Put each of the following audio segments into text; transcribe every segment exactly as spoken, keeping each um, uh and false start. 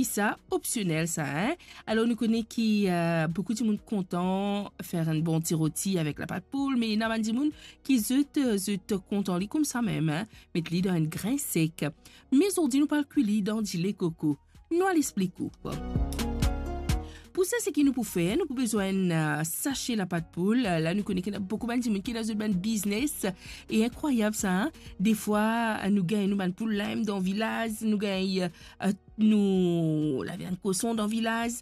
Sa opsionel sa, hein? Alor, nou kone ki, eh, boukou dimoun kontan fer enn bon ti roti avek lapat poul, me ena bann dimoun ki zot, eh, zot kontan li koumsa mem, hein? Met li dan enn grin sek. Me zordi, nou pou al kwi li dan dile koko. Nou al explik ou. Pou sa, seki nou pou fer, nou pou bezwinn, eh, sache lapat poul. Eh, la, nou kone ki ena boukou bann dimoun ki ena zot bann biznes. E inkrwayab sa, hein? Defwa, eh, nou gagn nou bann poul lam dan vilaz, nou gagn, eh, nou laviann koson dan vilaz.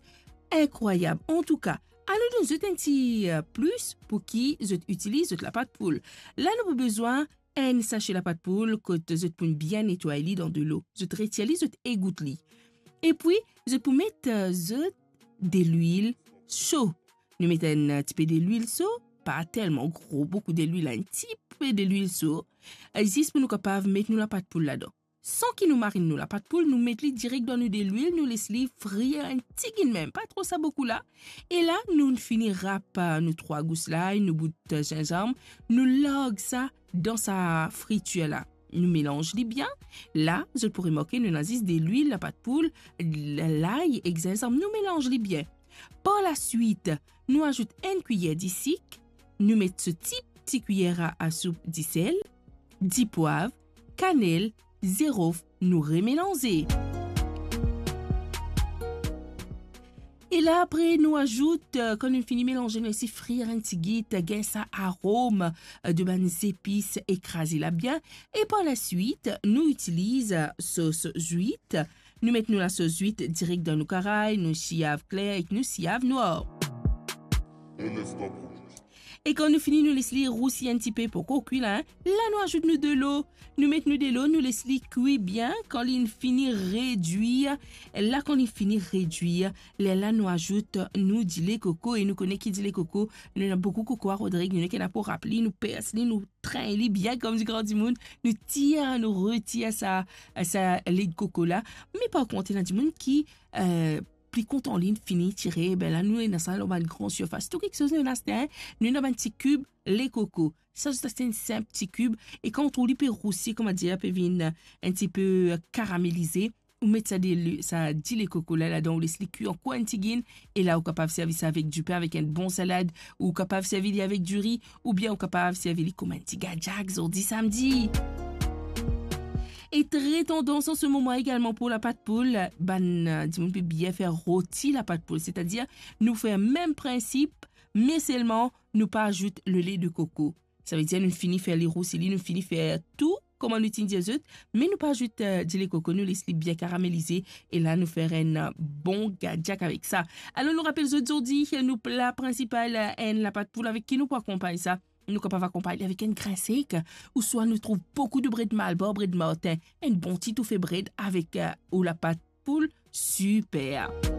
Inkrwayab. Antouka, anou donn zot enn ti, eh, plis pou ki zot itiliz zot lapat poul. La, nou pou bezwinn enn sache lapat poul kot zot pou bien netway li dan delo. Zot retir li, zot egout li. Epi, zot pou met, eh, zot delwil so. Nou met enn, eh, tipe delwil so, pa telman gro, boukou delwil, enn tipe delwil so, eh, zis pou nou kapav met nou lapat poul ladan. San ki nou marinn nou lapat poul, nou met li direk dan nou delwil, nou les li frir enn tigit mem, pa tro sa boukou la. E la, nou fini rap, eh, nou trwa gous lay, nou bout, eh, zinzam, nou larg sa dan sa fritir la. Nou melanz li bien. La, zot pou remarke, nou ena zis delwil, lapat poul, l-, lay ek zinzam. Nou melanz li bien. Par laswit, nou azout enn kwiyer disik, nou met so ti, ti kwiyer a, a soup disel, dipwav, kanel, zirof, nou remelanze. E la apre, nou azout, eh, kan nou fini melanze, nou les li frir enn tigit, eh, gagn sa arom, eh, de bann zepis, ekraze la bien. E par laswit, nou itiliz, eh, sos zwit. Nou met nou lasos zwit direk dan nou karay, nou siav kler ek nou siav nwar. E kan nou fini, nou les li rousi enn tipe, pankor kwi la, hein? La, nou azout nou delo. Nou met nou delo, nou les li kwi bien. Kan li fini redwir, la, kan li fini redwir, lerla nou azout nou dile koko. E nou kone ki dile koko, nou ena boukou koko a Rodrig, nou ena pou rap li, nou pers li, nou trenn li bien, kouma dir gran dimoun, nou tir, nou retir sa, sa led koko la. Me par kont, ena dimoun ki, eh, pli kontan li fini tire, be la, nou ena sa lor bann gran sirfas. Tou kiksoz nou ena aste, hein? Nou ena bann ti kib le koko. Sa zis aste enn sinp ti kib, e kan ou trouv li pe rousi, kouma dir, pe vinn, eh, enn tipe, eh, karamelize, ou met sa dele-, sa dile koko la ladan, ou les li kwi ankor enn tigit, e la ou kapav servi sa avek dipin, avek enn bon salad, ou kapav servi li avek diri, oubien ou kapav servi li kouma enn ti gadyak zordi samdi. E tre tandans an se moman egalman pou lapat poul, bann, eh, dimoun pe bien fer roti lapat poul, setadir nou fer mem prinsip, me selman nou pa azout lele de koko. Savedir nou fini fer li rousi li, nou fini fer tou kouma nou ti dir zot, me nou pa azout, eh, dile koko, nou les li bien karamelize, e la nou fer enn, eh, bon gadyak avek sa. Alor, nou rapel zot zordi, eh, nou pla prinsipal, eh, enn lapat poul. Avek ki nou pou akonpagn sa? Nou kapav akonpagn li avek enn grin sek, ouswa nou trouv boukou de bred Malbar, bred Martin, enn bon ti toufe bred avek, eh, ou lapat poul, siper.